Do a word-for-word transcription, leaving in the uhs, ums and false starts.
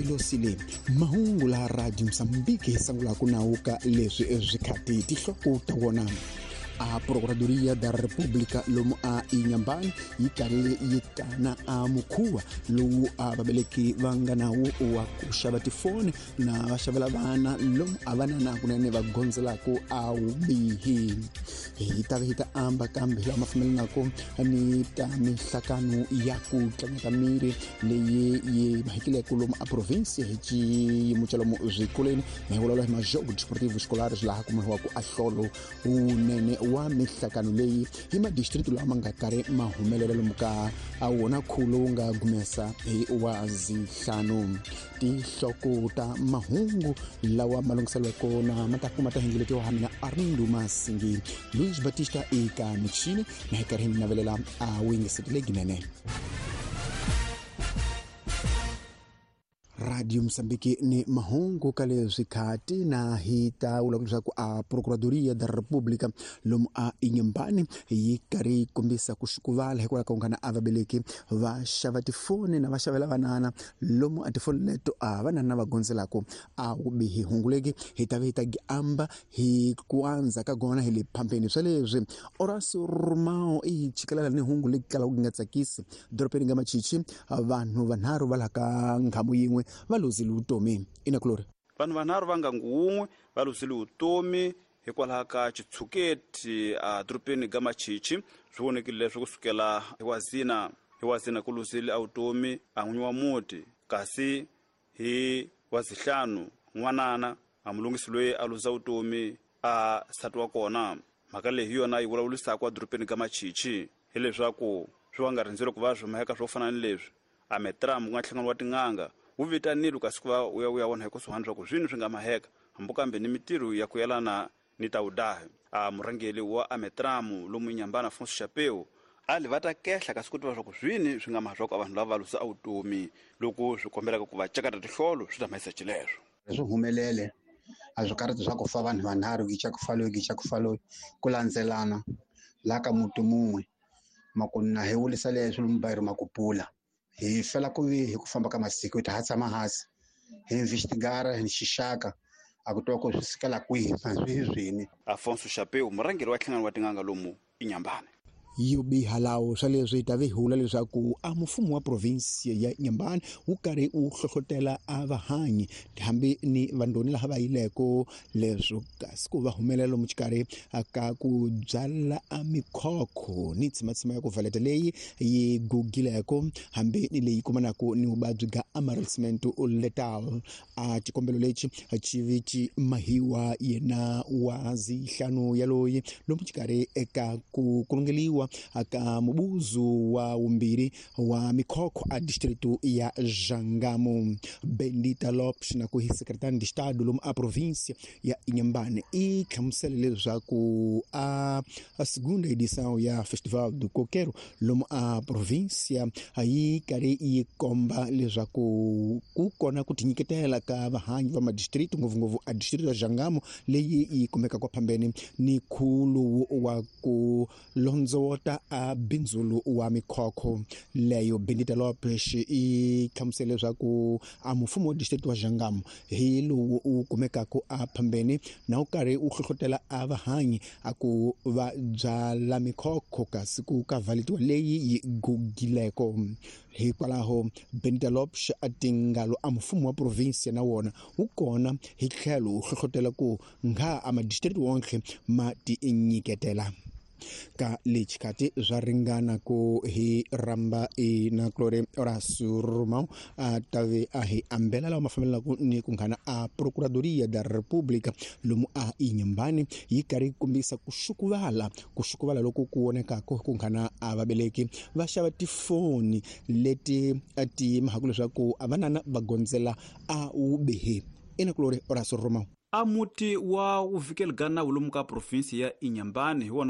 Velocile mahungu la Radio Mozambique hi sangulaka nawu ka leswi swikhati tinhloko ta wona. A Procuradoria da República lomu a Inhambane yi karhi yi kana a mukhuva lowu a vaveleki va nga nawu wa ku xava tifoni na va xavela vana lomu a vana na kunene va gondzelaka a wubihi. Hi ta hi ta amba kambe lawa ma fambelanaka ni ta mihlakano ya ku tlangeta miri leyi yi mahekileke lomu a provinsia hi xiyimo xa lomu swikolweni hi vulavula hi majogo desportivo escolares laha kumiwaka a hlolo wunene wa mihlakano leyi hi madistrict lawa ma nga karhi ma humelela lomu ka a wona khulo wu nga gumesa hi wa zihlanu. Tinhloko ta mahungu lawa ma lunghiseriweke na ma ta kuma ta hingiletiwa ha mina Arnaldo Masingi Luis Batista eka michini na hi karhi hi mi navelela a wuyingiseti leginene. Radio Mozambique ni mahungu ka leswi khati na hi ta vula leswaku a Procuradoria da República lomu a Inhambane yi karhi yi kombisa ku xukuvala hikwalaho ka ku nghana a vaveleki va xava tifoni na va xavela vanana lomu a tifoni leto a vanana va gondzelaka a wubihi hunguleki hi ta ve hi ta amba hi ku andza ka gona hi le phambeni swa leswi. Horacio Romao i chikelela ni hungu leyi kalaka ku nga tsakisi dorobeni nga Machichi vanhu vanharhu va laha ka nghamu yin'we va luzile vutomi. Ina Glory, vanhu vanharhu va ngangu wun'we va luzile vutomi hikwalaho ka xitshuketi a dorobeni ga Machichi. Swi vonekile leswi kusukela hi wazina hi wazina ku luzile a vutomi a n'winyi wa muti, kasi hi wazihlanu n'wanana a mulungisi loyi a luza vutomi a nsati wa kona. Mhaka leyi hi yona yi vulavurisaka a dorobeni ga Machichi hileswaku swi va nga rindzeli ku va swi maheka swo fana ni leswi. A Metram ku nga nhlangano wa tin'anga wu vitanile kasi ku va u ya u ya vona hi kusuhani swa ku swini swi nga maheka hambi kambe ni mitirho ya ku yelana ni ta wudahi. A murhangeri wa Ametramu lomu Inhambane Afonso Chapeu a li va ta kehla kasi ku tiva swa ku swini swi nga maha swa ku vanhu lava va lusa a vutomi loko swi kombelaka ku va cakata tihlolo swi ta mahisa xileswo. Swi humelele a swi karhi swa ku fa vanhu vanharhu gicha ku fa loyi gicha ku fa loyi ku landzelana laha ka muti mun'we makuna hi wulisa leswi lomu makupula hi fela ku vi hi ku famba ka masiku hi ta ha tshama hansi hi investigara hi xixaka a ku twa ku swi sukela kwihi swi swini. Afonso Chapeu murhangeri wa nhlangano wa tin'anga lomu Inhambane. Yo biha lawo swa leswi ta vi hula leswaku a mfumo wa provinsia ya Inhambane wu karhi wu hlohlotela a vahanyi hambi ni vandoni laha va yileko leswo kasi ku va humelela lomu xikarhi ka ku byala a mikhokho ni tsimatsima ya ku valeta leyi yi gugileko hambi ni leyi kumanaka ni vuvabyi bya amarelcement letal. A xikombelo lexi xi vi xi mahiwa yena wa zihlanu yaloyi lomu xikarhi eka ku kulungeliwa aka mubuzu wa wumbirhi wa mikhokho a distrito ya Jangamo. Bendita Lopes na ku hi secretary de estado lomu a província ya Inhambane i hlamusele leswaku a a segunda edição ya Festival do Coqueiro lomu a província yi karhi yi komba leswaku ku kona ku tinyiketela ka vahanyi va madistrito ngopfungopfu a distrito ya Jangamo leyi yi kumekaka kwa phambeni ni khulu wa ku londzota a bindzulu wa mikhokho leyo. Bendita Lopes i hlamusele leswaku a mfumo wa district wa Jangamo hi lowu wu kumekaka a phambeni na wu karhi wu hlohlotela a vahanyi a ku va byala mikhokho kasi ku ka valetiwa leyi yi gugileko. Hikwalaho Bendita Lopes a tingalo a mfumo wa provinsia na wona wu kona hi tlhelo wu hlohlotela ku nga a madistrict wonke ma tinyiketela ka lexikati swa ringana ku hi ramba ina Glory Horacio Romao a tave a hi ambela lawa ma fambelaka ni ku nghana a Procuradoria da República lomu a Inhambane yi karhi yi kombisa ku xukuvala ku xukuvala loko ku vonekaka ku nghana a vaveleki va xava tifoni leti ti mahaka leswaku a vanana va gondzela a wubihi. Ina Glory Horacio Romao. A muti wa wuvikeli ga nawu lomu ka provinsi ya Inhambane hi wona